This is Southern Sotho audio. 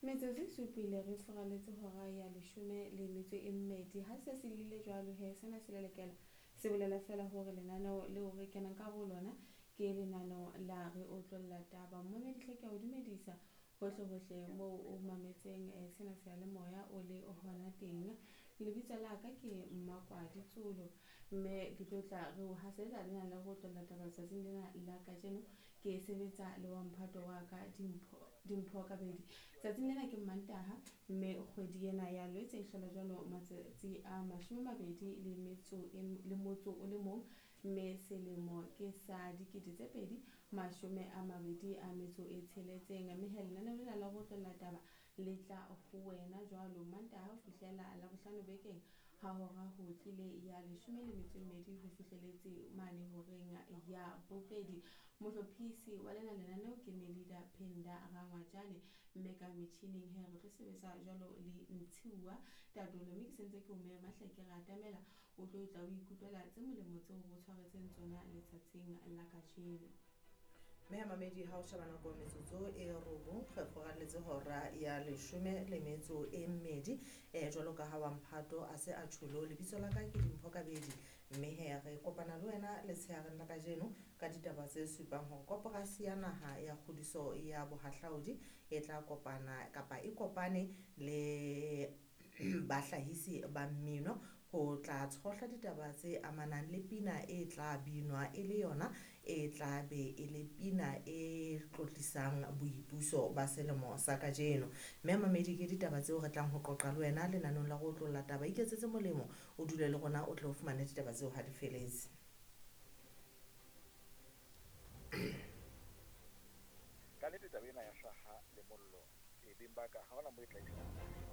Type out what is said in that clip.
Metsotso e supile re furaletse hora ya leshome le metso e mmedi. Ha se se lile jwalo he, sena se lelekela se bolela fela hore lenaneo leo re kenang ka ho lona ke lenaneo la Re Otlolla Taba. Mmamedi hle ke a o dumedisa hohle hohle moo o mametseng sena seyalemoya o le hona teng. Lebitso la ka ke Mmakwadi Tsolo, mme ke tlo tla re o hasetsa lena la Re Otlolla Taba letsatsing lena la kajeno. Ke sebetsa le wa mphato wa ka Dimpho Kabedi. Tsatsing lena ke Mmantaha, mme kgwedi ena ya Lwetse e hlola jwalo matsatsi a 20 le metso le motso o le mong, mme selemo ke sa 2026. Mme he lenaneo lena la Re Otlolla Taba le tla ho wena jwalo Mantaha ho fihlela Labohlano bekeng ha hora ho tlile ya leshome le metso e mmedi ho fihleletse mane horeng ya bobedi. Mohlophisi wa lena lenaneo ke Melida Phenda Rangwajane, mme ka metjhining he re tlo sebetsa jwalo le Ntshiuwa Tatolo. Mme ke sentse ke o mema hle ke re atamela o tlo tla o ikutlwela tse molemo tseo re o tshwaretseng tsona letsatsing la kajeno. Mme ha mamedi ha o sheba nako metsotso e 9 re furaletse hora ya leshome le metso e mmedi. Jwalo ka ha wa mphato a se a tjholo, lebitso la ka ke Dimpho Kabedi, mme he re kopana le wena letshehareng la kajeno ka ditaba tse supang hore koporasi ya naha ya kgodiso ya bohahlaudi e tla kopana kapa e kopane le bahlahisi ba mmino ho tla tshohla ditaba tse amanang le pina e tla binwa e le yona e tla be e le pina e tlotlisang boipuso ba selemo sa kajeno. Mme mamedi ke ditaba tseo re tlang ho qoqa le wena lenanong la Re Otlolla Taba. Iketsetse molemo, o dule le rona, o tle o fumane ditaba tseo ha di feletse. Ka nnete taba ena ya hlaha le mollo, beng ba ka ha hona moo e tla isang.